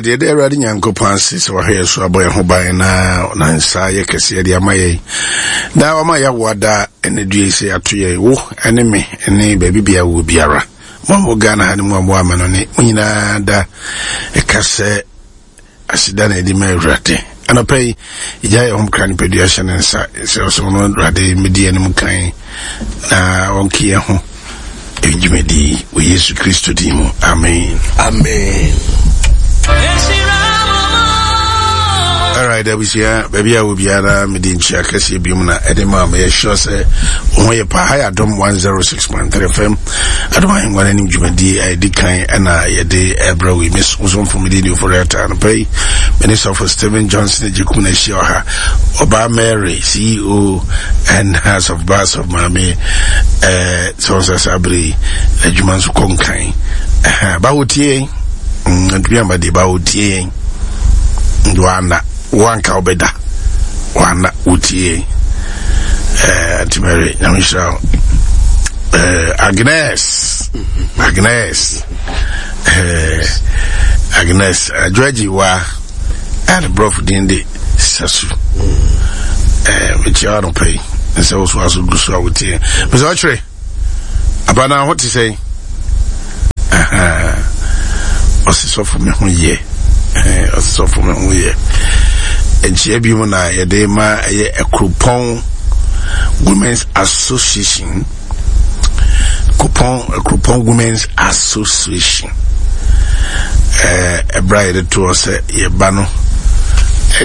Alright, yɛde Awurade Nyankopɔn ase sɛ wahwɛ yɛ so abɔ yɛn ho ban na na nsa yɛ kɛseɛ de ama yɛn. Na wama yɛawoa da ɛne dua yi sɛ yɛato yɛn wo ne me ne baabi bia wɔ biara. Mo a mo Ghana ha ne mo a mo ama no ne mo nyinaa da ɛka sɛ Aseda na yɛde ma Awurade. Anɔpa yi, yɛgya yɛn ho kra nipadua hyɛ ne nsa sɛ ɔsɛ ɔno Awurade mmɛdi yɛn anim kan na ɔnke yɛn ho dwumadi yi wɔ Yesu Kristo din mu. Amen. Amen. Alright, abusua, baabi a wɔ biara mede nkyia kɛseɛ biom na ɛde ma meyɛ sure sɛ wo ho yɛ paa. Ha yɛ Adom 106.3 FM. Adom Ahengua no anim dwumadie a ɛdi kan ɛna yɛde ɛbrɛ wo yi. Me somfo mede ne ofori ata anɔpa yi. Me ne sɔfo Stephen Johnson Agyekum na ahyia ɔha. Ɔbaa Mary, CEO and House of Bars of Maame, eh, sɛ wɔn sɛ saa bere yi, adwuma nso kɔ nkan. Ɛha, ba wotie yɛn. Ntumi amba deɛ ba wotie yɛn. Wana, wanka wobɛda. Wana, wotie yɛn. Eh, Auntie Mary, nyame nhyira wo. Eh, Agnes, Agnes, eh, Agnes, Adwoagyi wa, ɛne brɔfo din de Sasu. Eh, mekyia wo anɔpa yi, nsɛ wo so aso gu so a wotie. Mesɛ ɔkyerɛ. Aba na ho te sɛn? Ɔse sɔfo me ho yɛ. Ɔse sɔfo me ho yɛ. Nkyia bi mu na yɛde ma ɛyɛ Akuropɔn Women's Association. Kupɔn Akuropɔn Women's Association. Ɛberɛ a yɛde toɔ sɛ yɛba no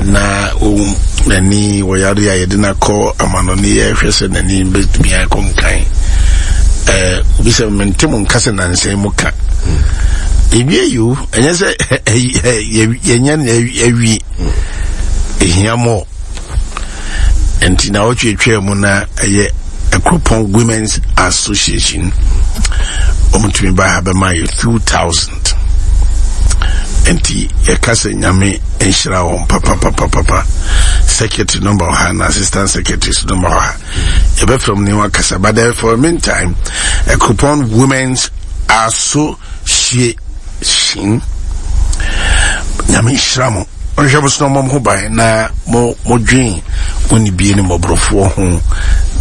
na wɔn n'ani wɔyare a yɛde no akɔ amanɔne yɛhwɛ sɛ n'ani bɛtumi akɔ nkan ɛɛ obi sɛ mente mo nka sɛ nansa mu ka ewie yi o ɛnyɛ sɛ yɛnyɛ no awie ehia mɔ nti na wɔtwetwaa mu na ɛyɛ Akuropɔn Women's Association wɔn tumi ba ha bɛma yɛ 2000 nti yɛka sɛ nyame nhyira wɔn papapapapa. Secretary number wɔ ha na assistant secretary so number wɔ ha, yɛbɛfrɛ mu ne wakasa, but then for the meantime, Akuropɔn Women's Association, nyame nhyira mo, ɔnhwɛ mo so na ɔmmɔ mo ho ban na mo modwen mo ne bie ne mmɔborɔfoɔ ho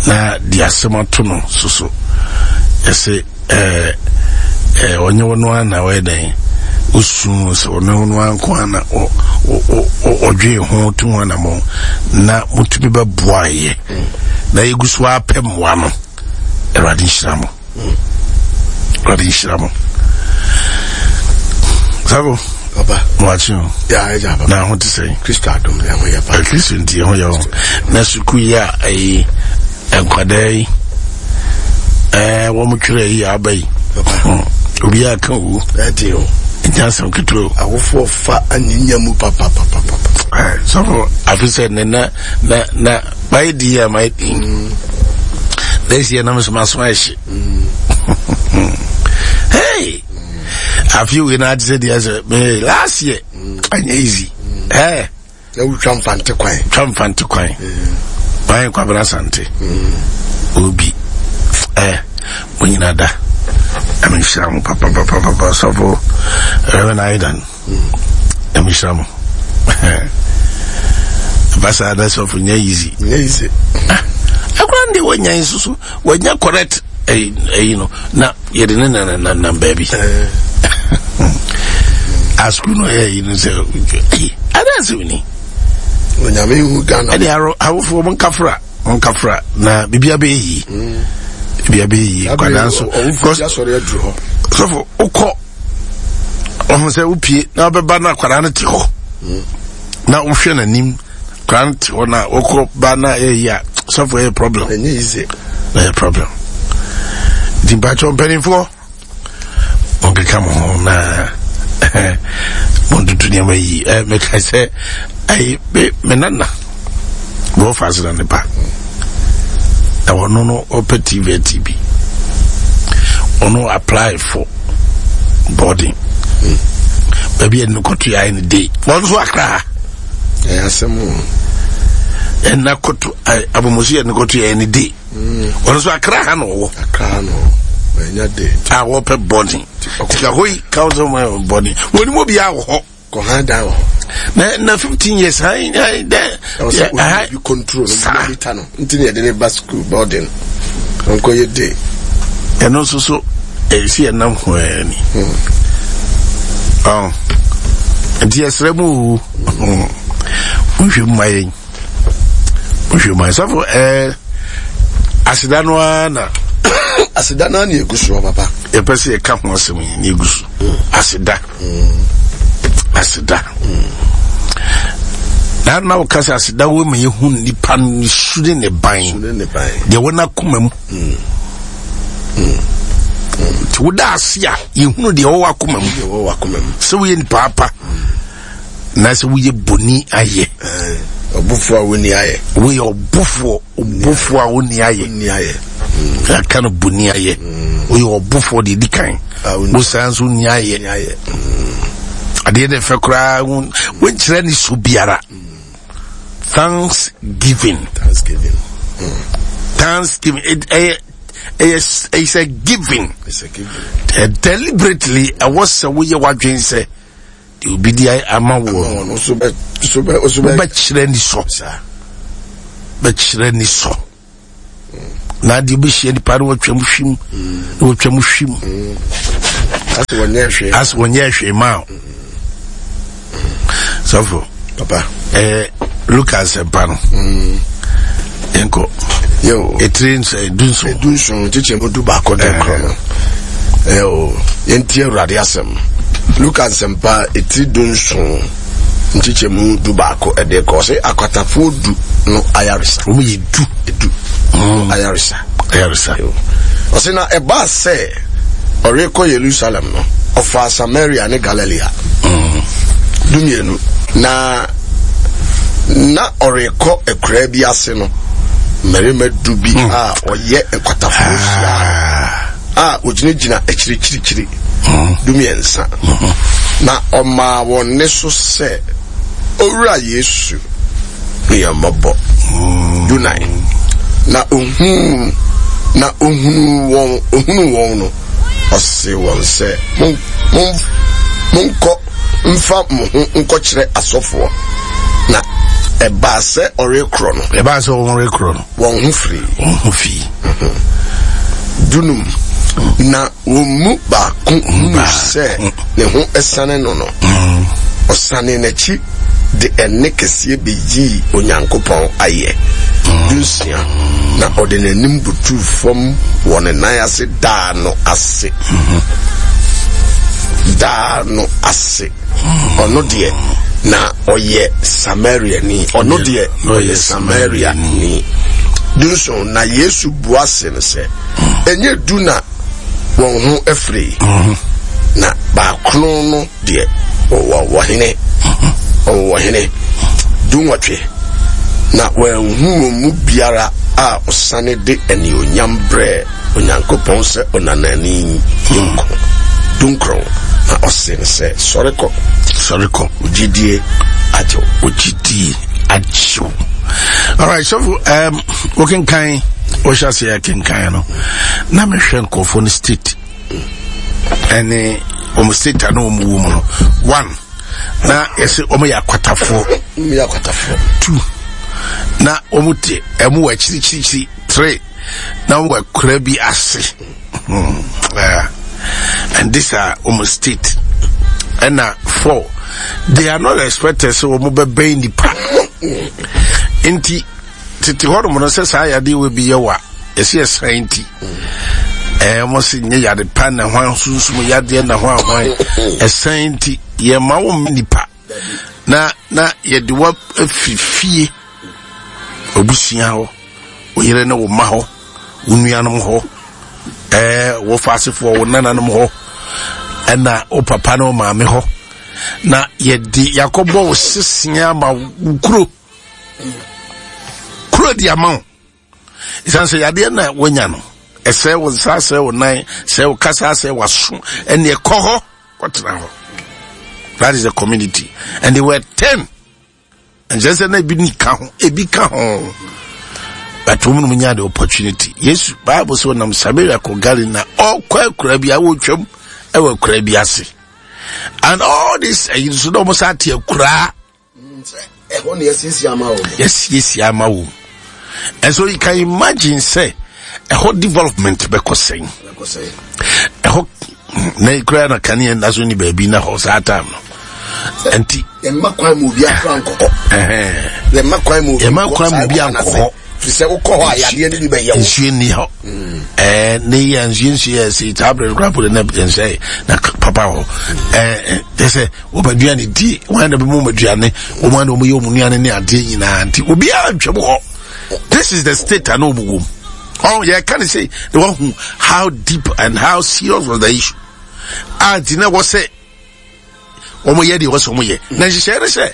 na de asɛm ato no so so ɛsɛ ɛɛ ɛɛ ɔnyɛ wɔn ara na ɔyɛ dɛn osu sɛ ɔno ɔno ara nko ara na ɔ ɔ ɔdwen ho to ho anamɔ na motumi bɛboa yɛ na yɛgu so apɛ mmoa no. Awurade nhyira mo, Awurade nhyira mo. Sabo Papa. Mo akyi o. Ya ɛgya papa. Na ho te sɛ. Kristo adom yɛ ho yɛ pa. Kristo nti yɛ ho yɛ ho. Na sukuu yi a ɛyi nkwadaa yi ɛɛ wɔn twerɛ yi aba yi. Papa. Obiara ka o. Ɛdi o. Nti asɛm ketewa o. Awofoɔ fa anyinya mu papa papa papa. Ɛɛ sɔfo afi sɛ ne na na na mayɛ di yɛ mayɛ di. This year na mo so ma so ayɛ hye. Hey. Afi wei na ate sɛ deɛ sɛ me last year anyɛ easy. Ɛɛ. Na wotwa mfante kwan. Twa mfante kwan. Mayɛ Kwabena Asante. Obi. Ɛɛ mo nyina da. Ɛmi nhyira mo papapapapa sɔfo Reverend Aidan. Ɛmi nhyira mo. Basa da sɔfo nyɛ easy. Nyɛ easy. Akora no deɛ wanya nso so wanya correct ɛyi no na yɛde ne nananam baabi. Asukuu no ɛyɛ yi no sɛ ɛyi adansi ni. Onyame hu Ghana. Ɛde awofoɔ mo nkafra mo nkafra na biribi abɛyɛ yie. Biribi abɛyɛ yie nkwadaa nso. Sɔfo wokɔ ɔho sɛ wopie na wobɛba na akwadaa no te hɔ na wohwɛ n'anim, akwadaa no te hɔ na wokɔ ba na ɛyɛ yie a, sɔfo ɛyɛ problem. Ɛnyɛ easy. Ɛyɛ problem. Nti mpakyɛw mpanimfoɔ monkeka mo ho na montoto nneɛma yi. Meka sɛ ayi me me nana wɔfa ase na ne ba na ɔno no ɔpɛ TV tv ɔno apply for boarding baabi a no kɔto yɛ ayɛ ne day wɔn nso akra ha. Ɛyɛ asɛm o. Ɛna kɔto abomosi yɛ no kɔto yɛ ne day ɔno nso akra ha na ɔwɔ. Akra ha na ɔwɔ. Ɛnya day. A wɔpɛ boarding tika hɔ yi council man boarding wɔn mu obiara wɔ hɔ. Ɔkɔ han dan wɔ hɔ. Na na 15 years han han dɛ. Ɛwɔ sɛ obi bi control no monitor no nti na yɛde ne ba school boarding ɔnkɔ yɛ day. Ɛno nso so ɛsi ɛnam ho ɛni. Ɔn nti yɛsrɛ mu o monhwɛ mu ma yɛn monhwɛ mu ma yɛn sɔfo ɛɛ aseda no ara na. Aseda no ara na egu soɔ papa. Yɛpɛ sɛ yɛka ho asɛm yi na egu so aseda. Aseda. Na na woka sɛ aseda wɔ ma yɛhu nipa no su ne ne ban deɛ wɔ n'akoma mu. Nti woda ase a yɛhunu deɛ wɔwɔ akoma mu sɛ woyɛ nipa apa na sɛ woyɛ boni ayɛ. Ɔbofoɔ a wonni ayɛ. Woyɛ ɔbofoɔ. Ɔbɔfoɔ a ɔnni ayɛ. Yɛaka no bɔni ayɛ. Woyɛ ɔbɔfoɔ deɛ ɛdi kan. Wosan nso nni ayɛ. Adeɛ na ɛfɛ koraa wonkyerɛ ne so biara. Thanksgiving. Thanksgiving. Thanksgiving. Ɛyɛ ɛyɛ it's a giving. It's a giving. Deliberately ɛwɔ sɛ woyɛ w'adwene sɛ. Deɛ obi de ama woɔ no, wobɛkyerɛ ni sɔ. Bɛkyerɛ ni sɔ. Na adeɛ wobɛhyia nipa no wɔtwam hwim, na wɔtwam hwim. Asɛ wɔnyɛ hwee ma o. Sɔfo. Papa. Eh, Luka asɛmpa no. Yɛnkɔ. Yo. Etiri nso edunson. Edunson kyekyɛ mu du baako de korɔ no. Yo, yɛntie Awurade asɛm. Luka nsɛmpa etiri dunson nkyekyɛ mu du baako ɛde kɔ sɛ akwatafoɔ du no ayaresa. Wɔn yɛ du. Du. Ayaresa. Ayaresa. Ɔsɛ na ɛbaa sɛ ɔrekɔ Yerusalem no, ɔfaa Samaria ne Galilea. Dumienu. Na na ɔrekɔ akuraa bi ase no, mmarima du bi hmm. a wɔyɛ nkwatafoɔ hyia ah. a wɔgyinagyina akyirikyirikyiri hmm. dumiɛnsa. Hmm. Na ɔmaa wɔn nne so sɛ, Owura Yesu, hu yɛn mmɔbɔ. Dunan. Na ohuu na ohunuu wɔn ohunuu wɔn no, ɔsee wɔn sɛ, Mon mon monkɔ mfa mo ho nkɔkyerɛ asɔfoɔ. Na ɛbaa sɛ ɔrekorɔ no. Ɛbaa sɛ wɔrekorɔ no. Wɔn ho firii. Wɔn ho fii. Dunum. Na wɔn mu baako hunuu sɛ ne ho asiane no no, ɔsanee n'akyi de ɛnne kɛseɛ bɛyii Onyankopɔn ayɛ. Dunsia. Na ɔde n'anim butuu fam wɔ ne nan ase daa no ase. Daa no ase. Ɔno deɛ, na ɔyɛ Samariani. Ɔno deɛ, ɔyɛ Samariani. Dunson, na Yesu bua se no sɛ, Ɛnyɛ du na wɔn ho afiri, na baakron no deɛ, wɔwɔ wɔ hene. Wɔwɔ wɔ hene. Dunwɔtwe, na wɔanhu wɔn mu biara a ɔsane de anuonyam brɛɛ Onyankopɔn sɛ ɔnanani yi nko. Dunkron, na ɔsee no sɛ, Sɔre kɔ. Sɔre kɔ. Wo gyidie agye wo. Wo gyidie agye wo. Alright, sɔfo, um, wokenkan, wohyɛ aseɛ kenkan no, na mehwɛ nkurɔfoɔ no state ɛne wɔn state a na wɔn wɔ mu no. One, na yɛsɛ wɔn yɛ akwatafoɔ. Wɔn yɛ akwatafoɔ. Two, na wɔn te ɛmu wɔ akyirikyirikyiri. Three, na wɔn akura bi ase hmm. uh, and this are wɔn state ɛna four they are not expected sɛ wɔn bɛbɛn nipa nti tete hɔ nom no sɛ saa yadeɛ wɔ bi yɛ wa yɛsi ɛsan nti ɛɛ wɔn si nye yade pa na ho sunsum yadeɛ na ho ahwan ɛsan nti yɛ ma wɔn nipa. na na yɛde wo afiri fie abusua hɔ wo yere ne wo mma hɔ wo nuanom hɔ ɛɛ wo faasefoɔ wo nananom hɔ ɛna wo papa ne wo maame hɔ na yɛde yakɔbɔ wo sesea ama wo kuro kuro de ama wo ɛsiane sɛ yadeɛ na woanya no ɛsɛe wo nsa sɛe wo nan sɛe wo kasa sɛe w'aso ɛne ɛkɔ hɔ kɔtena hɔ that is the community and they were ten nkyɛn sɛ na ebi ni ka ho ebi ka ho but wɔn mu nya the opportunity yesu bible sɛ ɔnam samaria kɔ galilee na ɔkɔ akura bi a wɔtwam ɛwɔ akura bi ase. And all this ɛyi nso na wɔn sa ate akuraa. Ɛhɔ na yɛsiesie ama wɔn. Yɛsiesie ama wɔn. And so you can imagine sɛ ɛhɔ development bɛkɔ sɛn. Ɛhɔ na ekura na kanea na so ni baabi na hɔ saa time no. Nti. Yɛmma kwan mu obi akora nkɔkɔ. Yɛmma kwan mu obi Yɛmma kwan mu obi ankɔhɔ. Firi sɛ wokɔ hɔ a yadeɛ no bi bɛyɛ wo. Nsuo nni hɔ. Ɛɛ ne yɛ nsuo nsuo yɛ si saa abiri kura polo na nsɛ na papa hɔ. Ɛɛ kyɛ sɛ wɔn aduane di wɔn na bɛmu wɔn aduane wɔn na wɔn yɛ wɔn nnuane ne adeɛ nyinaa nti obiara ntwam hɔ. This is the state a na wɔn wɔ mu. Ɔn yɛ ka ne sɛ na wɔn hu how deep and how serious was the issue. A nti na wɔ sɛ wɔn yɛ deɛ wɔsɛ wɔn yɛ na nhyehyɛ ne sɛ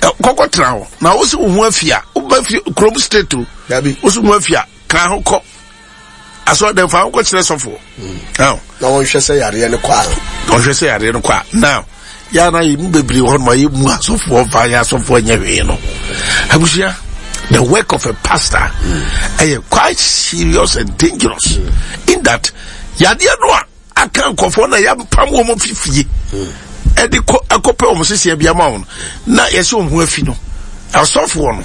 kɔkɔ tena hɔ na wosi wo ho afi a woba fi kurom state o wosi wo ho afi a kan ho kɔ asɔ dɛm fa ho kɔ kyerɛ sɔfoɔ. Na wɔnhwɛ sɛ yareɛ no kɔ a. Wɔnhwɛ sɛ yareɛ no kɔ a now yɛa na yɛ mu bebree hɔ nom a yɛ mu asɔfoɔ fa yɛ asɔfoɔ nyɛ hwee no abusua the work of a pastor ɛyɛ mm. quite serious and dangerous mm. in that yadeɛ no a aka nkurɔfoɔ na yɛapam wɔn fi fie ɛde kɔ ɛkɔpɛ wɔn seseɛ bi ama wɔn na yɛsɛ wɔn ho afi no asɔfoɔ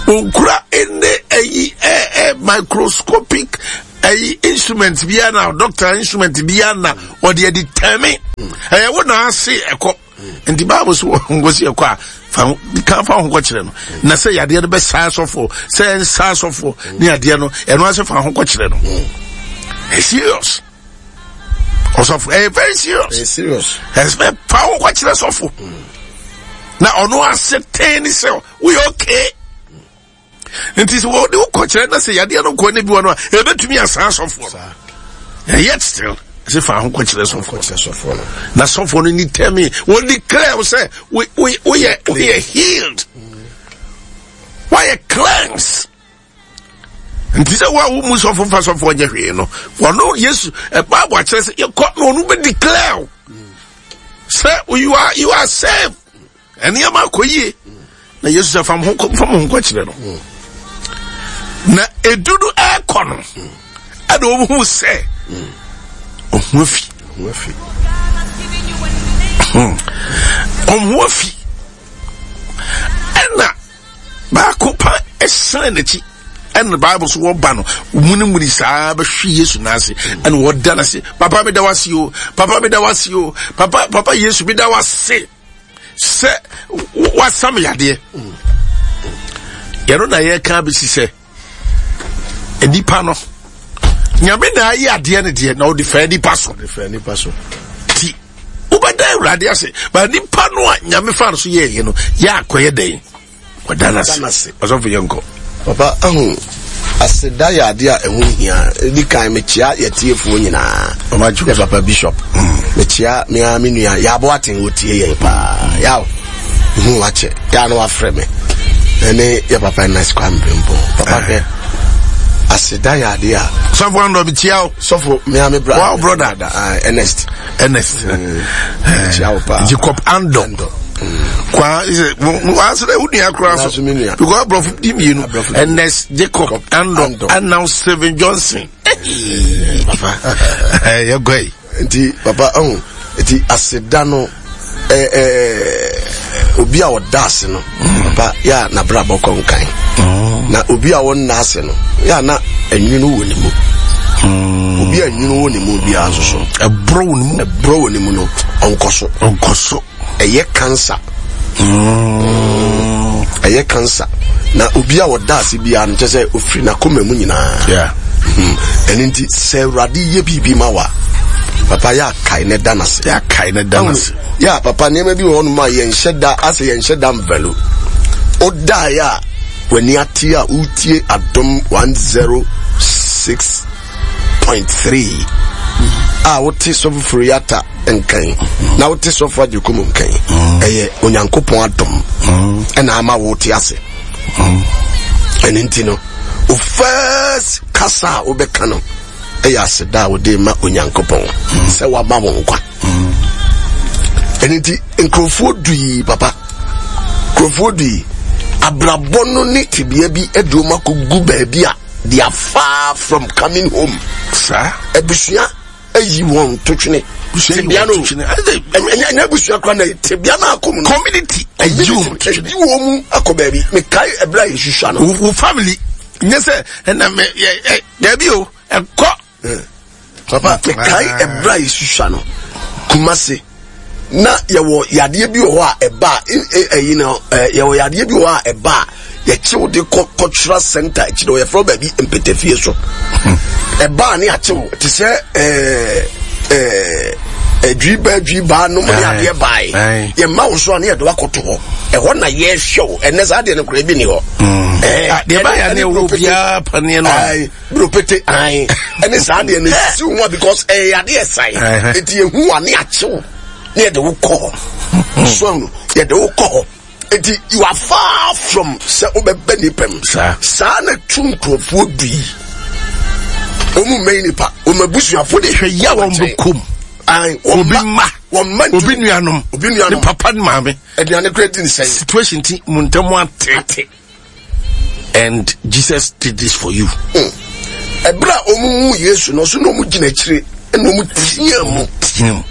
no okura ɛne ɛyi ɛ ɛ microscopic ɛyi instrument bi na doctor instrument bi na ɔde ɛde tɛmi ɛyɛ wo na ase ɛkɔ nti baabu so nkosi ɛkɔ a fa kan fa ho kɔkyerɛ no na sɛ yadeɛ no bɛsaa asɔfoɔ sɛ ɛnsaa asɔfoɔ ne yadeɛ no ɛno ase fa ho kɔkyerɛ no ɛyɛ serious ɔsɔfo ɛyɛ very serious ɛyɛ serious ɛsɛ fa ho kɔkyerɛ sɔfo na ɔno ase tɛn ne sɛ woyɛ okay. nti sɛ wɔde wo kɔkyerɛ na sɛ yadeɛ no nkɔ ne bi wɔ no a ɛbɛtumi asan sɔfoɔ no yet still sɛ fa ho kɔkyerɛ sɔfoɔ no na sɔfoɔ no ni tɛmi wɔn declare wo sɛ woyɛ woyɛ healed woayɛ cleanse nti sɛ wo a wo mu sɔfo fa sɔfoɔ nyɛ hwee no wɔno yesu bible akyerɛ sɛ yɛkɔ na ɔno bɛ declare wo sɛ you are you are saved Nneɛma akɔ yie na Yesu sɛ fam ho fam ho kɔkyerɛ no na edu no ɛrekɔ no ɛna wɔn hu sɛ ɔho afi ɔho afi ɛna baako pa ɛsan n'akyi ɛna bible so wɔba no munimuni saa bɛhwe yesu n'ase ɛna wɔda n'ase papa mi da wase o papa mi da wase o papa papa yesu mi da wase. sɛ wasam yadeɛ yɛno na yɛka bɛsi sɛ nipa no nyame na ayɛ adeɛ no deɛ na ɔde faa nipa so ti wobɛda awurade ase ba nipa no a nyame fa no so yɛɛyɛ no yɛ akɔyɛ dɛn Ɔda no ase. Ɔsɔfo yɛ nkɔ. Papa ahu aseda yɛ adeɛ a ɛho hia. Ɛdi kan mekyia yɛtiefoɔ nyinaa. Yɛ papa bishop. Mm. Mekyia me ara me nua Yabo Aten wɔtie yɛn paa. Yaw hu wakyɛ. Yaa no wafrɛ me. Ɛne yɛ papa Ernest Kwame Brempong. Papa hwɛ. Aseda yɛ adeɛ a. Sɔfo Andɔ mekyia wo. Sɔfo me ara me brother. Wow brother. Uh, Ernest. Ernest. Mm. Mekyia wo paa. Jacob Andɔ. Andɔ. Kwa sɛ waasɛ dɛ wo nua koraa so because aborɔfo di mmienu Ernest Jacob Andɔ and now Steven Johnson. Papa. Yɛ gɔ yi. Nti papa ɔho nti aseda no ɛɛ ɛɛ obi a ɔda ase no papa yɛ a n'abrabɔ kɔ nkan na obi a ɔnna ase no yɛ a na ɛnwene wɔ ne mu obi a ɛnwene wɔ ne mu biara nso so ɛborɔ wɔ ne mu ɛborɔ wɔ ne mu no ɔnkɔ so ɔnkɔ so ɛyɛ cancer ɛyɛ cancer na obi a ɔda ase biara no kyɛ sɛ ofiri n'akoma mu nyinaa ɛno nti sɛ awurade yɛ biribi ma wa papa yɛ akae ne da n'ase yɛ akae ne da n'ase yɛ papa nneɛma bi wɔ hɔnom a yɛnhyɛ da asɛ yɛnhyɛ da mvalo ɔdaeɛ a w'ani ate a wotie adom 106.3 a wote sɔfo furuyata nkan na wote sɔfo agyekum nkan ɛyɛ onyankopɔn adom ɛna ama wote ase ɛno nti no wo first kasa a wobɛka no ɛyɛ aseda a wode ma onyankopɔn sɛ wama wo nkwa ɛno nti nkurɔfoɔ dui papa nkurɔfoɔ dui abrabɔ no ne tebea bi aduom akɔgu baabi a they are far from coming home saa abusua. ayi wɔn totwene. Tebea no ɛnyɛ abusua kora na tebea no akɔ mu no. Community ayi wɔn totwene. Ayi wɔn mu akɔ baabi. Mekae ɛberɛ a yɛsusua no. Wo family nyɛ sɛ ɛna mɛ yɛ ɛ daabi o ɛkɔ. Papa mekae ɛberɛ a yɛsusua no Kumasi na yɛwɔ yadeɛ bi wɔ hɔ a ɛba a ɛyi no yɛwɔ yadeɛ bi wɔ hɔ a ɛba a yɛkyew de kɔ cultural center akyire hɔ yɛfrɛ baabi mpɛtɛfie so ɛbaa ne akyew te sɛ ɛɛ ɛɛ adwibaa adwibaa nom ne adeɛ bae yɛma wo so a ne yɛde wakɔto hɔ ɛhɔ na yɛhwɛ wo ɛnɛ saa deɛ no koraa bi ni hɔ mm. deɛ ba yɛ ne wo biara paneɛ no buropete ae ɛne saa deɛ no si wo ho because ɛyɛ adeɛ sae enti yɛhu wa ne akyew ne yɛde wo kɔ hɔ so no yɛde wo kɔ hɔ Eti you are far from sɛ wobɛbɛ nipa mu. Saa na tu nkurɔfoɔ du yi. Wɔn mu mmɛn nipa, wɔn abusuafo de hwɛ yia wɔn bɛ kom. Obi mma, wɔn mma obi nuanom, obi nuanom, ne papa ne maame. Aduane kura di nsɛn. Situation ti mu ntɛm ate. Ate. And Jesus did this for you. Hmm. Ɛberɛ a wɔn mu Yesu no so na wɔn gyina akyire ɛna wɔn tia mu. Tia mu.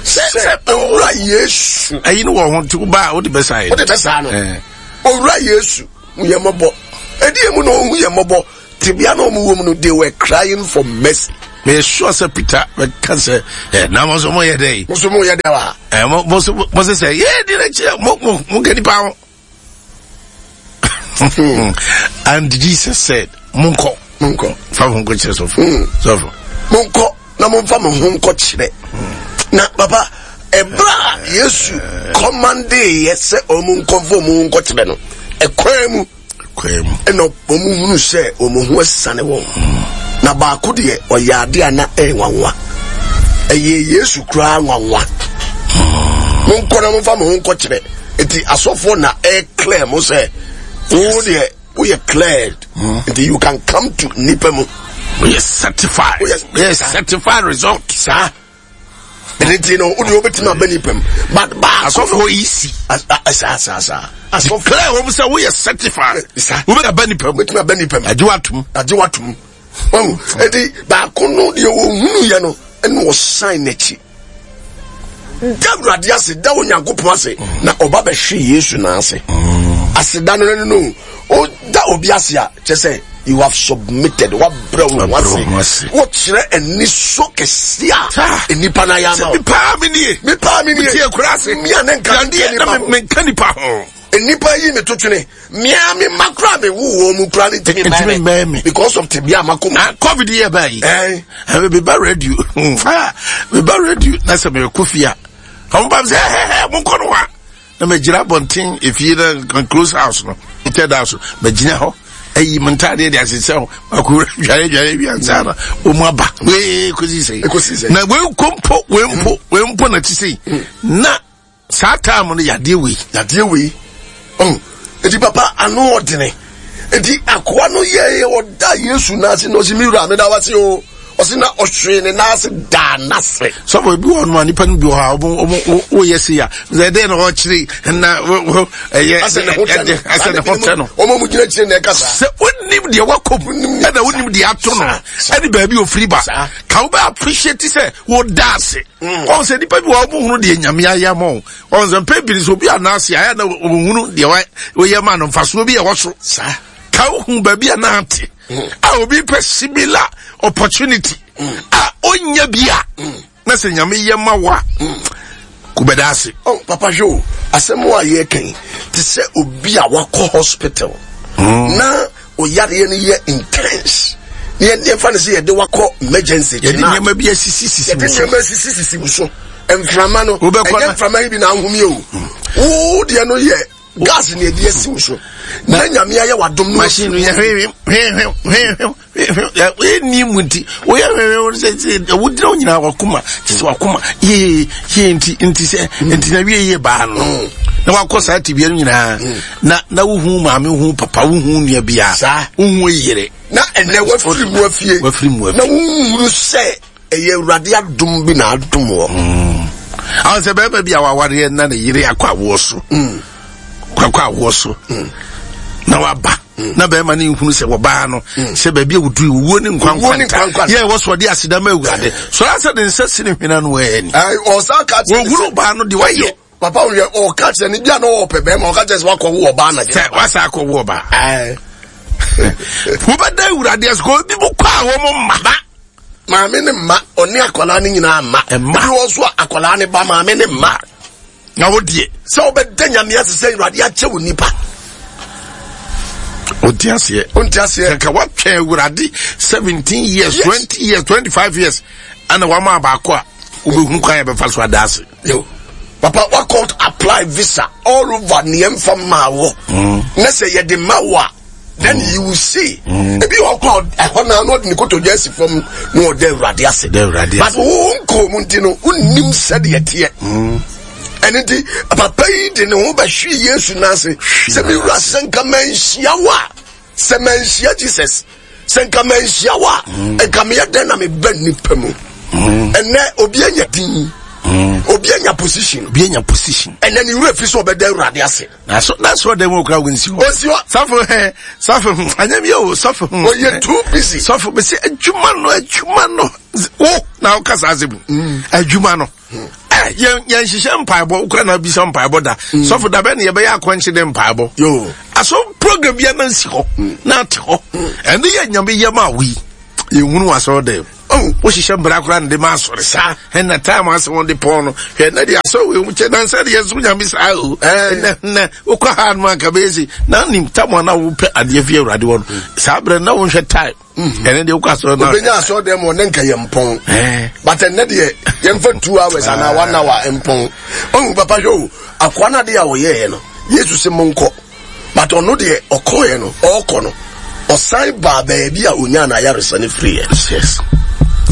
Sɛ sɛ owura Yesu. Ɛyi no wɔ ho nti wo ba a wode bɛsa yɛ. Wode bɛsa no. Eh. Owura Yesu hu yɛn mmɔbɔ. Ɛdi emu na ɔhu yɛn mmɔbɔ. Tebea na wɔn wɔ mu no they were crying for mercy. Mɛ sure sɛ Peter bɛka sɛ ɛ na mo nso mo yɛ dɛ yi. Mo nso mo yɛ dɛ wa. Ɛ mo mo nso mo sɛ sɛ yɛ di n'akyi mo mo mo nkɛ nipa ho. And Jesus said, Monkɔ. Monkɔ. Fa mo ho nkɔ kyerɛ sɔfo. Hmm. Sɔfo. Monkɔ na momfa mo ho nkɔ kyerɛ. Hmm. Na papa, ɛberɛ a Yesu kɔmande yɛ sɛ ɔmo nkɔmfa ɔmo ho nkɔ kyerɛ no, ɛkwan mu. Ɛkwan mu. Ɛna ɔmo hunu sɛ ɔmo ho asiane wɔn. Hmm. Na baako deɛ ɔyɛ ade a na ɛyɛ nwanwa. Ɛyɛ Yesu koraa nwanwa. Monkɔ na momfa mo ho nkɔ kyerɛ. Nti asɔfoɔ na ɛ clear mo sɛ wo deɛ woyɛ cleared hmm. nti you can come to nipa mu. Woyɛ certified. Woyɛ certified result. Saa ɛne nti no wode wobɛtumi aba nipa mu but baako asɔfoɔ yi si saa saa saa asɔfoɔ clear wɔn sɛ woyɛ certified wobɛtumi aba nipa mu wobɛtumi aba nipa mu agye watom agye watom ɔn nti baako no deɛ wɔhunu yɛ no ɛna ɔsan n'akyi da awurade ase da onyankopɔn ase na ɔba bɛhwe yesu nan ase aseda no no no ɔda obi ase a kyɛ sɛ you have submitted wabrɛ wo ho ase wokyerɛ anisɔ kɛse a nnipa no ayɛ ama wo mepaa me nie mepaa me nie metie kura ase mea ne nka menka nipa ho nnipa yi me to twene mea me mma koraa me wo wɔn mu koraa ne ntumi mmɛn me because of tebea a makɔ mu. Ah, covid yɛ baa yi ɛɛ meba radio ah, meba radio na sɛ mekɔ fie a ɔmo ba mi sɛ ɛhɛhɛ mo nkɔ no wa na megyina abɔnten efie na close house no third house megyina hɔ ayi mo ntaadeɛ de ahyehyɛ ho akowura dware dware wi ansa na wɔn aba wee kosi sɛ na wei mpo wei mpo wei mpo na ti sɛ na. Saa time no yadeɛ wei. Yadeɛ wei. Oh, eti papa ano ɔdene. Eti akoa no yɛ ɔda Yesu n'ase na ɔsi mi wura mi da wase o. Ɔsi na ɔhwee ne n'ase daa n'ase. Sɔfo ebi wɔ no a nipa no bi wɔ hɔ a ɔmo ɔmo woyɛ se ya. Sɛ ɛdɛn na ɔkyerɛ na ɛyɛ asɛ ne ho tɛ no. Asɛ ne ho tɛ no. Ɔmo mo gyina kyerɛ na ɛka saa. Sɛ onim deɛ wakɔ mu ɛna onim deɛ ato no ɛne baabi ofiri ba. Ka wo bɛ appreciate sɛ wo da ase. Mm. Ɔn sɛ nipa bi wɔ ɔmo hunu deɛ nyame ayɛ ama o. Ɔn sɛ mpɛ bi sɛ obi anaase ayɛ na ɔmo hunu deɛ wɔyɛ ma no nfasoɔ bi ɛwɔ so. Saa. Ka ohun baabi a n'ate. Mm. A obi pɛ similar opportunity. Mm. A onya bi a. Na sɛ nyame yɛ ma wa. Kubɛda ase. Oh, papa hwɛ o asɛm a yɛka yi te sɛ obi a wakɔ hospital. Na Oyareɛ no yɛ intense. Ne yɛn yɛfa no sɛ yɛde wakɔ emergency. Yɛde nneɛma bi asisi sisi wo so. Yɛde nneɛma asisi sisi wo so. Mframa no. Ɛnyɛ mframa yi bi na ahomi o. Wo deɛ no yɛ gas na yɛde asi wo so. Na nyame ayɛ wadom no. Machine no yɛ hwehwɛ hwehwɛ hwehwɛ hwehwɛ ɛni mu nti woyɛ hwehwɛ sɛ sɛ wogyina wo nyinaa wakoma kyɛ sɛ wakoma yee yee nti nti sɛ nti na wie yie baa no na wakɔ saa tibia no nyinaa na na wohu maame wohu papa wohu nua bia wohu yere na ɛnɛ wafiri mu afie wafiri mu afie na wohunu sɛ ɛyɛ awurade adom bi na adom wɔ mm. ahụ sɛ bɛrima bi a wawareɛ na ne yere akɔ awoɔ so mm. akɔ awoɔ so mm. na waba. Na bɛrima no nhunu sɛ wɔbaa no sɛ baabi a wɔduru owuo ne nkwa nkwanta yɛ ɛwɔ so ɔde aseda ma awurade sɔrɔ asɛ de nsa si ne hwena no ɛni wɔhunu baa no de wayɛ papa woyɛ ɔka kyerɛ ne bia na ɔpɛ bɛrima ɔka kyerɛ sɛ wakɔ wo ɔbaa na sɛ wasa akɔ wo ɔbaa wobɛda awurade ase kɔ bi mu kɔ a wɔn mma ba maame ne mma ɔne akwadaa ne nyinaa mma mma bi wɔ so a akwadaa ne ba maame ne mma na wo deɛ sɛ wobɛda nyame ase sɛ awurade akyɛ wo nipa wonte aseɛ wonte aseɛ nka woatwɛn awurade 17 years yes. 20 years 25 years ana wama baako a wobɛhu kwan yɛbɛfa so ada ase yo papa wakɔ apply visa all over neɛ mfa maa wɔ na sɛ yɛde ma wo a then mm. you will see mm. ebi wɔ kɔ ɛhɔ naa na ɔde ne kotodwe asi fam na ɔda awurade ase but wo nkɔɔ mu nti no wonnim sɛdeɛ teɛ ɛno nti papa yi de ne ho bɛhwe yesu no ase sɛ mewura sɛ nka manhyia wo a sɛ manhyia jesus sɛ nka manhyia wo a nka meyɛ dɛn na meba nnipa mu ɛnɛ obi anya din obi anya position obi anya position ɛnɛ ne wura fi so ɔbɛda awurade ase Na so na so dɛm okura wo nsi hɔ. Osi hɔ. Sɔfo hɛ sɔfo hmm anyɛ bi o sɔfo hmm. Oyɛ too busy. Sɔfo bɛ se adwuma no adwuma no wo na woka saa asɛm. Mm. Adwuma no. Mm. Eh, yɛn yɛn hyehyɛ mpaebɔ wokura na bisa mpaebɔ da. Mm. Sɔfo da bɛ ne yɛbɛyɛ akɔnkye de mpaebɔ. Yo. Aso program bi na nsi hɔ. Na ate hɔ. Ɛne yɛ nyame yɛ ma wo yi. Yɛhunu asɔre dɛm. Oh, wohyehyɛ mbra koraa na de ma asɔre saa ɛna time ase wɔn de pɔn no hwɛ na de asɔre wei mu kyɛ nansa de yɛn so nyame saa o ɛna na wokɔ ha no anka bɛyɛ si na nim tam a na wopɛ adeɛ fi awurade wɔ no saa berɛ na wonhwɛ time ɛne deɛ wokɔ asɔre no obɛnya asɔre dɛm wɔ ne nka yɛ mpɔn but ɛnɛ deɛ yɛmfa two hours anaa one hour mpɔn ɔhu papa hwɛ o akoa no adeɛ a ɔyɛɛ no yesu se monkɔ But ɔno deɛ ɔkɔɔɛ no, ɔɔkɔ no, ɔsan baa baabi a onyaa n'ayaresa no firiiɛ. Yes.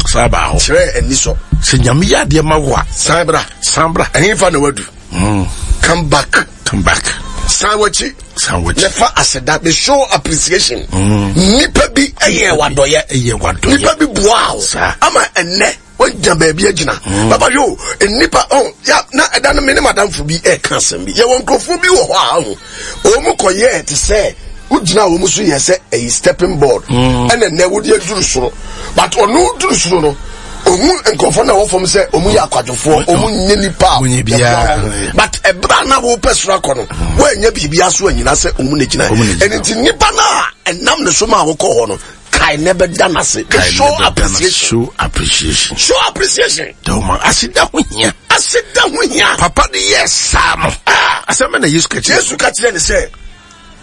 San baa hɔ. Kyerɛɛ anisɔ. Sɛ Nyame yɛ adeɛ ma wo a. San bra. San bra. Ɛhefa na wadu? Mm. Come back. Come back. San w'akyi. San w'akyi. Na fa aseda. Be show appreciation. Mm. Nipa bi ɛyɛ wadɔyɛ. Ɛyɛ wadɔyɛ. Nipa bi boa wo. Saa. Ama ɛnɛ. Wagya baabi agyina. Mm. Papa yo, nnipa oh, ya na ɛda no me ne madamfo bi ɛka asɛm bi. Yɛwɔ nkurɔfoɔ bi wɔ hɔ a ho. Wɔn mu kɔyɛɛ te sɛ wogyina wɔn so yɛ sɛ ɛyi stepping board. Mm. Ɛna nnɛ wode aduru soro. But ɔno duru soro no, ohun nkurɔfoɔ na ɛwɔ fam sɛ wɔn yɛ akwadwofoɔ, wɔn nyɛ nipa a yɛboa wɔn. But ɛberɛ a na wɔpɛ soro akɔ no, wɔanyɛ biribi aso anyina sɛ wɔn na gyina. Ɛno nti nipa no a ɛnam ne so ma wɔkɔ hɔ no, kae ne bɛda n'ase show appreciation show appreciation show appreciation dɔwma aseda ho hia aseda ho hia papa de yɛ saa no ah. Asɛm na yesu ka kyerɛ yesu ka kyerɛ ne sɛ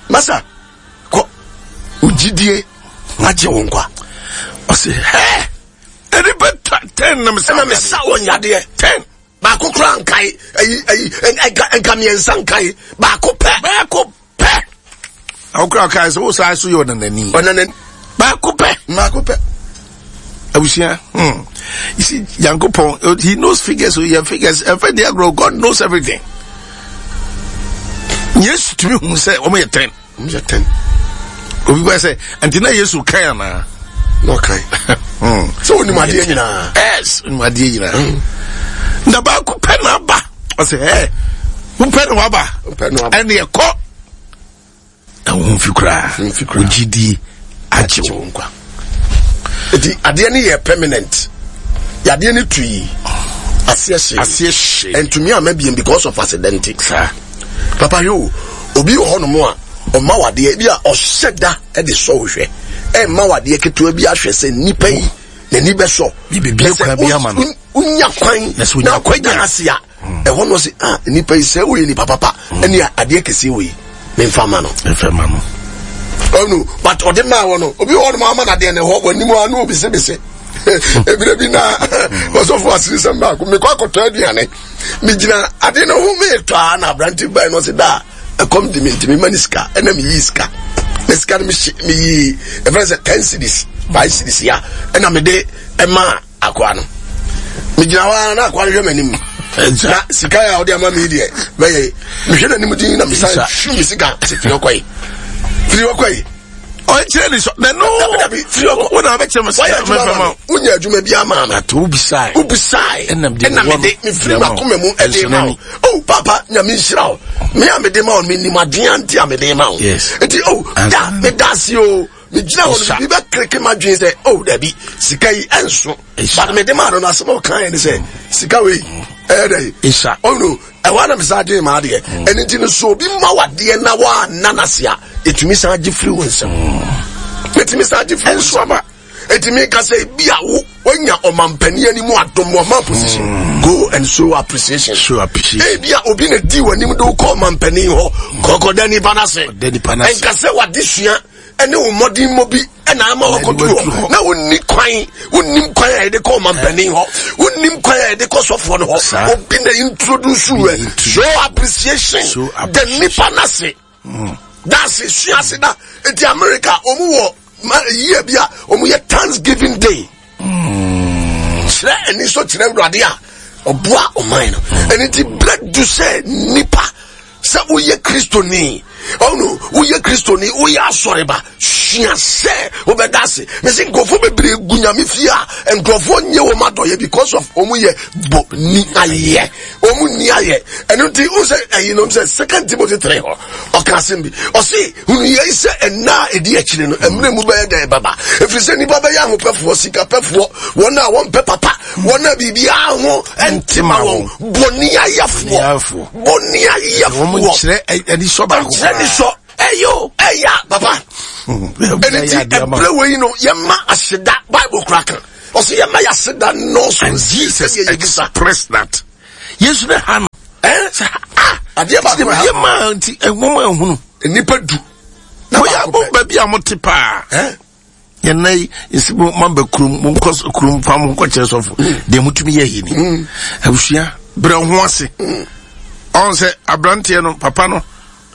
masa kɔ ogyidie agye wo nkwa ɔse hɛ ɛde bɛta ten na mesa na mesa wɔ nyadeɛ ten baako koraa nkae ayi ayi nka nka mmiɛnsa nkae baako pɛ baako pɛ awokora ɔkae sɛ wo saa so yɛ ɔnanani ɔnanani baako pɛ baako pɛ abusua hmm you see yankopɔn eh, he knows figures so yɛ figures ɛfɛ deɛ agorɔ god knows everything yesu tumi hu sɛ wɔn yɛ ten Wɔn yɛ tɛn. Obi bɛ sɛ nti na Yesu kan anaa? Na ɔkan. Hmm. Sɛ onim adeɛ nyinaa. Yes, onim adeɛ nyinaa. Hmm. Na baako pɛ na aba. Ɔsɛ ɛ wopɛ na waba. Wopɛ na waba. Ɛne ɛkɔ. Na wo ho mfi koraa. Mfi koraa. Wo gyidie agye wo nkwa. Eti adeɛ no yɛ permanent. Yadeɛ no tu yi. Aseɛ hye. Aseɛ hye. Ntumi ama biem because of accident. Saa. Papa hwɛ o, obi wɔ hɔnom a ɔma wadeɛ bi a ɔhyɛ da de sɔ wo hwɛ. Ɛmma wadeɛ ketewa bi ahwɛ sɛ nipa yi n'ani bɛsɔ. Bibibie kwan bi ama no. Wonya kwan na akɔnya ase a ɛhɔ no sɛ ah nipa yi sɛ woyɛ nipa papa ɛne adeɛ kɛseɛ wei memfa ma no. Memfa ma no. Ɔno but ɔde maa wɔ no obi wɔ hɔnom ama no adeɛ no ɛhɔ wɔ anim a na obisebise. Ebire bi na ɔsɔfo asirisɛm baako mekɔ akɔtɔ aduane. megyina ade no ho meretɔ a na aberante bae no ɔse da ɛkɔm de me nti mema ne sika ɛna meyii sika na sika no meyii ɛfrɛ sɛ 10 cities 5 cities ya ɛna mede ɛma akoa no megyina hɔ a na akoa no hwɛ m'anim na sika a ɔde ama me deɛ bɛyɛ mehwɛ n'anim din na mesan hwi me sika sɛ firi hɔ kɔe firi hɔ kɔe. Ɔnkyerɛ ne sɔ na no. Dabi firi ɔkɔ. Wo na wabɛkyerɛ me sɛ mɛfɛ ma. Wonya adwuma bi ama me. Ato wobisae. Wobisae. Ɛna mede ɛna mede mefiri m'akoma mu ɛde ma wo. Oh papa nyame nhyira wo. Me a mede ma wo menim adwene ante a mede ma wo. Yes. Nti oh da meda ase o. Megyina hɔ no biribi bɛkreke m'adwene sɛ oh dabi sika yi ɛnso. But mede maa no no asɛm a ɔkaeɛ ne sɛ sika wei ɛyɛ dɛ. Isa. Ɔno ɛhɔ ara na mesan dwen m'adeɛ. Ɛno nti no so obi ma wadeɛ na woanna n'ase a ɛtumi san gye firi wo nsam. Ɛtumi san gye firi wo nsam. Ɛtumi ka sɛ ebi a wo wanya ɔmampanin anim adom ɔma position. Go and show appreciation. Show appreciation. Ebi a obi na di w'anim de wokɔ ɔmampanin hɔ kɔkɔda nipa n'ase. Ɛnka sɛ wade sua ɛne wo mmɔdenmmɔ bi ɛna ama wakɔduru hɔ na wonni kwan wonnim kwan a yɛde kɔ ɔmampanin hɔ wonnim kwan a yɛde kɔ sɔfoɔ no hɔ obi na introduce wɛ show appreciation the nipa n'ase hmm. daase sua ase da eti America wɔn wɔ yie bi a wɔn yɛ Thanksgiving Day hmm. kyerɛ ani so kyerɛ awurade a ɔboa ɔman no hmm. ɛne ti brɛ du sɛ nipa Sɛ woyɛ Kristoni, ɔno woyɛ Kristoni, woyɛ asɔreba, sua sɛ wobɛda ase. Mesi nkurɔfoɔ bebree gu nyame fie a nkurɔfoɔ nyɛ wɔn adɔyɛ because of wɔn yɛ bɔ ni ayɛ, wɔn ni ayɛ. Ɛno nti wo sɛ ɛyi nom sɛ Second Timothy 3 hɔ ɔka asɛm bi, ɔse hunu yei sɛ ɛnna a ɛdi akyire no mmerɛ mu bɛyɛ dɛn bɛba, ɛfiri sɛ nnipa bɛyɛ ahopɛfoɔ, sikapɛfoɔ, wɔn a wɔmpɛ papa, wɔn a biribiara ho nte ma wɔn, bɔne ayɛfoɔ. Bɔne ayɛfoɔ. Wɔn nkyerɛ anisɔ baako. Nkyerɛ anisɔ. Ɛyɛ ɛya papa. Ɛne ti ɛbrɛ wɔ yi no yɛma aseda Bible kura kan. Ɔsɛ yɛma yɛ aseda nɔɔso. And Jesus expressed that. Yesu ne ha no. Ɛ sɛ ah. Adeɛ baako ha. Yɛ maa nti ɛwɔn ehunu. Nipa du. Na baako pɛ. Mo baabi a mo te paa. Yɛn nna yi nsi mo mamba kurom mo nkɔ kurom fa mo nkɔ kyerɛ sɔfo mm. deɛ motumi yɛ yi ni mm. abusua brɛ ho ase mm. ɔn sɛ aberanteɛ no papa no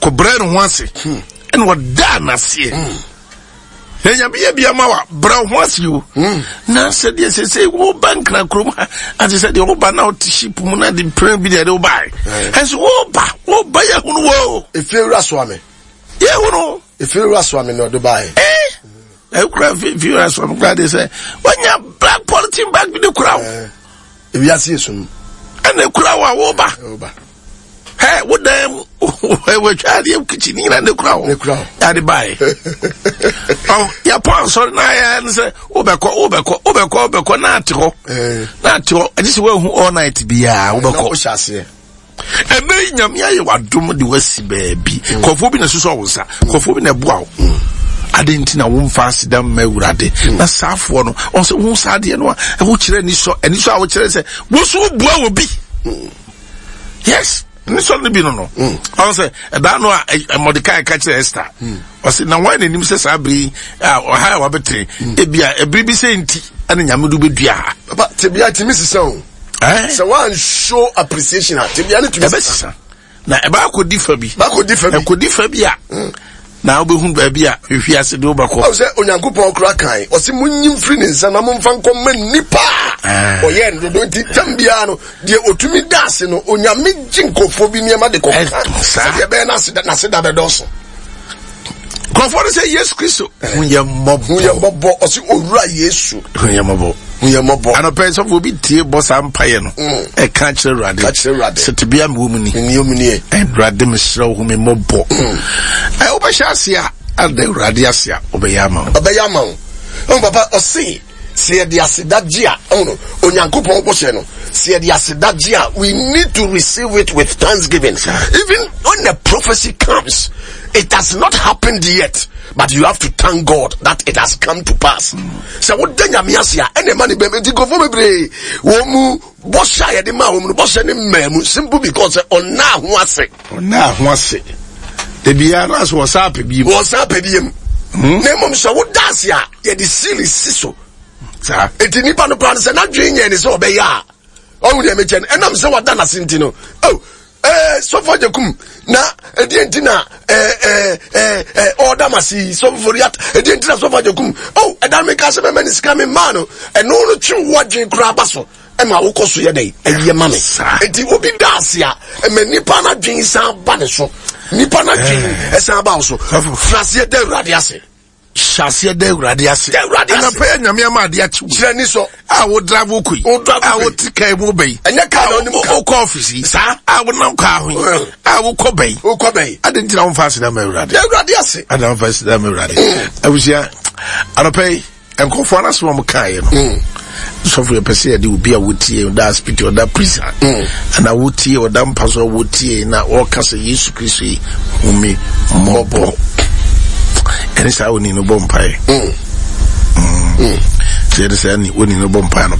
kɔ brɛ ne ho ase hmm. ɛna ɔdaa n'aseɛ na nyame yɛ bia ma wa brɛ ho ase o hmm. na sɛ deɛ sɛsɛ woba nkra kurom ha ate sɛ deɛ woba na wote ship mu na de prɛ bi deɛ de wobae ɛnso woba woba yɛhunu wo ɛfie wura soa me yɛhunu Efiri wura soa me na ɔde baeɛ. Eh, ekura efiri wura soa me kura de sɛ wanya black polythene bag bi de kura wo. Eh, ewiase esum. Ɛna ekura wo a woba. Woba. Hɛ wo dan mu wɔatwa adeɛ kitchen nyina ne kura wo. Ne kura wo. Yɛade baeɛ. Ɔ yɛpɔ asɔre na ayɛ ne sɛ wobɛkɔ wobɛkɔ wobɛkɔ wobɛkɔ na ate hɔ. Eh. Na ate hɔ ɛgye sɛ woahu all night biara wobɛkɔ. Na wohyɛ aseɛ. Ɛnɛ yi nyame ayɛ w'adom de wasi baabi. Mm. Nkurɔfoɔ bi na ɛsosɔ wo nsa. Mm. Nkurɔfoɔ bi na ɛboa wo. Mm. Ade nti na womfa aseda mma Awurade. Na saafoɔ no, wɔn sɛ wohu saa adeɛ no a, ɛho kyerɛ anisɔ. Anisɔ a wokyerɛ sɛ wo so wobua wɔ bi. Yes, anisɔ no bi no no. Ɔn sɛ ɛdaa no a Mordecai ka kyerɛ Esther. Ɔsɛ na wɔn n'anim sɛ saa bere yi a ɔha a wabɛtene. Ebi a ebiri bi sɛ nti ɛna nyame do bɛdua ha. Papa, tebea tumi sisa o. Eh? Sɛ wan show appreciation a tebea no tumi sesa. Na ɛbɛ akɔdi fa bi. Bakɔdi fa bi. Ɛkɔdi fa bi a. Hmm. Na wobɛhu baabi a hwehwe ase de wobɛkɔ. Ɔwɔ sɛ Onyankopɔn kora kan ɔse monyi mfiri ne nsa na momfa nkɔma nnipa a eh. ɔyɛ no dodo nti tam biara no deɛ ɔtumi da ase no Onyame gye nkurɔfoɔ bi nneɛma de kɔka eh, sɛdeɛ ɛbɛyɛ n'ase da bɛdɔɔso. Nkurɔfoɔ no sɛ Yesu Kristo hu yɛ mmɔbɔ. Hu yɛ mmɔbɔ ɔsi owura Yesu. Hu yɛ mmɔbɔ. Hu yɛ mmɔbɔ. Anɔpɛ sɔfo obi tie bɔ saa mpaeɛ no. Mm. Ɛka kyerɛ Awurade. Ka kyerɛ Awurade. Sɛ tebea mi wɔ mu ni. Mi wɔ mu nie. Awurade mesrɛ wo hu mi mmɔbɔ. Mm. Ɛ wobɛhyɛ ase a ada Awurade ase a ɔbɛyɛ ama wo. Ɔbɛyɛ ama wo. Ɔn papa ɔsi sɛ yɛde aseda gye a ɔn Onyankopɔn bɔhyɛ no sɛ yɛde aseda gye a we need to receive it with thanksgiving even when the prophecy comes it has not happened yet but you have to thank God that it has come to pass sɛ woda nyame ase a ɛna ɛma ne bɛm nti nkurɔfoɔ bebree wɔn mu bɔhyɛ a yɛde maa wɔn no bɔhyɛ ne mmaa mu simple because ɔnaa ho ase ɔnaa ho ase ebiara no ase wɔsan apɛ bi mu wɔsan apɛ bi mu hmm? na mmom sɛ woda ase a yɛde sili si so saa eti nipa no koraa no sɛ n'adwene nyɛ ne sɛ ɔbɛyɛ a ɔhu deɛ mekyɛ no ɛnam sɛ wada n'ase nti no oh ɛɛ sɔfo agyakum na ɛdeɛ nti na ɛɛ ɛɛ ɛɛ ɛɛ ɔda ma se yi sɔfo foriat ɛdeɛ nti na sɔfo agyakum oh ɛdan mi ka sɛ mɛmɛ ne sika mi maa no ɛno no twe wo adwene koraa ba so ɛma wokɔ so yɛ dɛ ɛyɛ ma me eti obi da ase a ɛmɛ nipa n'adwene san ba ne so nipa n'adwene ɛsan ba wo so firaseɛ da awurade ase. Hyɛ aseɛ da Awurade ase. Da Awurade ase. Anɔpa yɛ Nyame ama adeɛ akye wo. Kyerɛ ni sɔ. A wo drive wo kɔ yi. Wo drive A wo te kaa mu bɛ yi. Ɛnyɛ kaa na ɔnim ka. Wokɔ ɔfisi yi. Saa. A wo nam kaa ho yi. A wokɔ bɛ yi. Wokɔ bɛ yi. Adi nti na womfa aseda ma Awurade. Da Awurade ase. Adi na womfa aseda ma Awurade. Abusua, anɔpa yi, nkurɔfoɔ no asɛm a wɔkaeɛ no mm. Sɔfo, yɛpɛ sɛ yɛde obi a wotie ɔda hospital, ɔda prison anaa wotie ɔda mpa so a wotie na ɔka sɛ Yesu Kristo yi hu me mmɔbɔ, ɛne saa oni no bɔ mpaeɛ mm. Sɛ yɛde saa oni no bɔ mpaeɛ no.